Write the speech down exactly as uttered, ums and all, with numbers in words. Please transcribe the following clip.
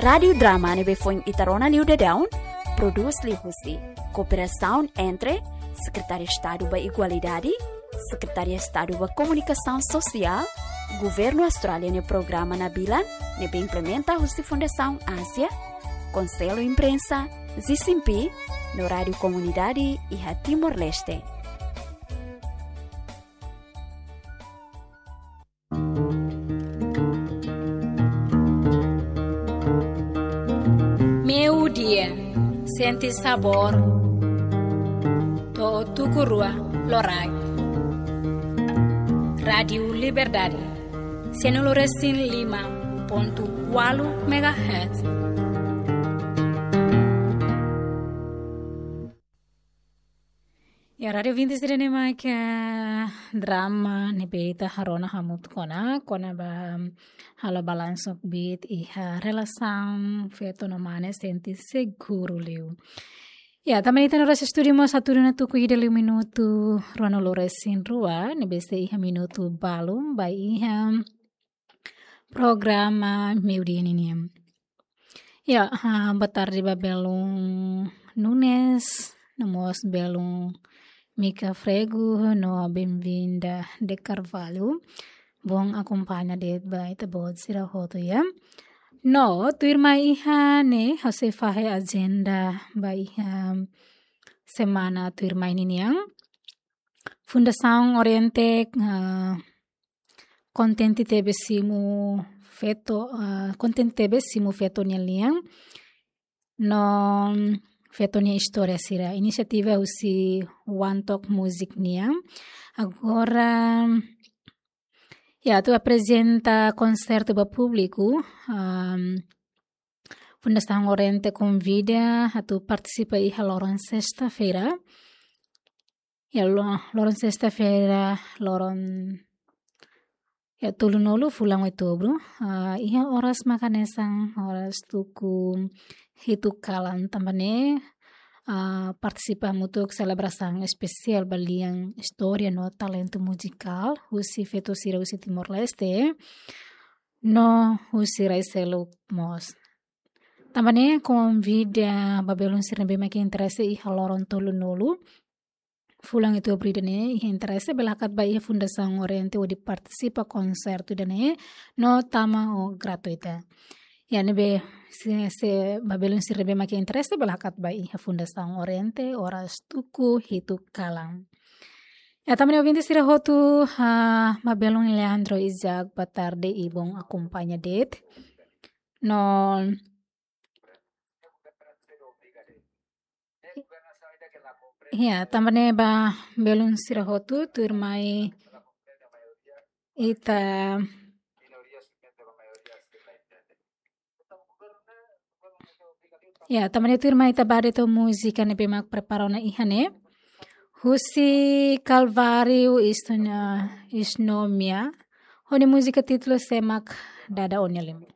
Rádiu Drama ne'ebé foin ita rona liu daudaun, prodús liuhusi kooperasaun entre Sekretáriu Estadu ba Igualdade, Sekretáriu Estadu ba Komunikasaun Sosiál, Governu Austrália nia programa Nabilan, ne'ebé implementa husi Fundasaun Ázia, Konsellu Imprensa, Zisimpi, no Rádiu Komunidade iha Timor-Leste. Meiudia, sente sabór to'o tuku rua loraik. Rádiu Liberdade, sianulu resin lima pontu ualu megahertz. Ya, rádiu ouvinte sira ne'e mak Drama ne'ebé ita rona hamutuk ona, kona-ba halo balansu kbiit iha relasaun feto no mane sente seguru liu. Ya, tanba ne'e ita-nia oras estúdiu mós hatudu ona tuku ida liu minutu ruanulu resin rua, ne'ebé sei iha minutu balun ba iha programa meiudia ninian. Ya, ah, boa tarde ba belun Nunes, no mós belun Mika Frego, no bem-vinda de Carvalho. Bom akompaña de'it ba ita-boot sira hotu, ya. No, tuirmai iha ne'e, ha'u sei fahe ajenda ba iha semana tuirmai ninian. Fundasaun Oriente, ah, kontente tebes simu feto, ah, kontente tebes simu feto nia lian no feto nia istória sira. Inisiativa husi One Talk Music nian. Agora, ya, atu aprezenta konsertu ba públiku, am, Fundasaun Oriente konvida atu partisipa iha loron sesta-feira. Ya, lo-, loron sesta-feira, loron, ya, tolunulu fulan Outubru. Ah, iha oras mak hanesan, oras tuku hitu kalan tanba ne'e, ah, partisipa hamutuk selebrasaun espesiál ba lian istória no talentu muzikál husi feto sira husi Timor-Leste no husi rai seluk mós. Tanba ne'e konvida ba belun sira ne'ebé mak interese iha loron tolunulu fulan Outubru ida-ne'e, iha interese bele hakat ba iha Fundasaun Oriente hodi partisipa konsertu ida-ne'e, no tama ho gratuita. Ya, ne'ebé se, se ba belun sira ne'ebé mak interese bele hakat ba iha Fundasaun Oriente oras tuku hitu kalan. Ya, tanba ne'e ouvinte sira hotu, ah, ba belun Leandro Isaac, boa tarde i bom akompaña de'it. No, ya, tanba ne'e ba belun sira hotu, tuirmai ita, ya, tanba ne'e tuirmai ita ba de'it ho múzika ne'ebé mak prepara ona iha ne'e. Husi Calvário Isno-, Isnomia. Ho nia múzika títulu Sé Mak Dada Ó-nia Liman.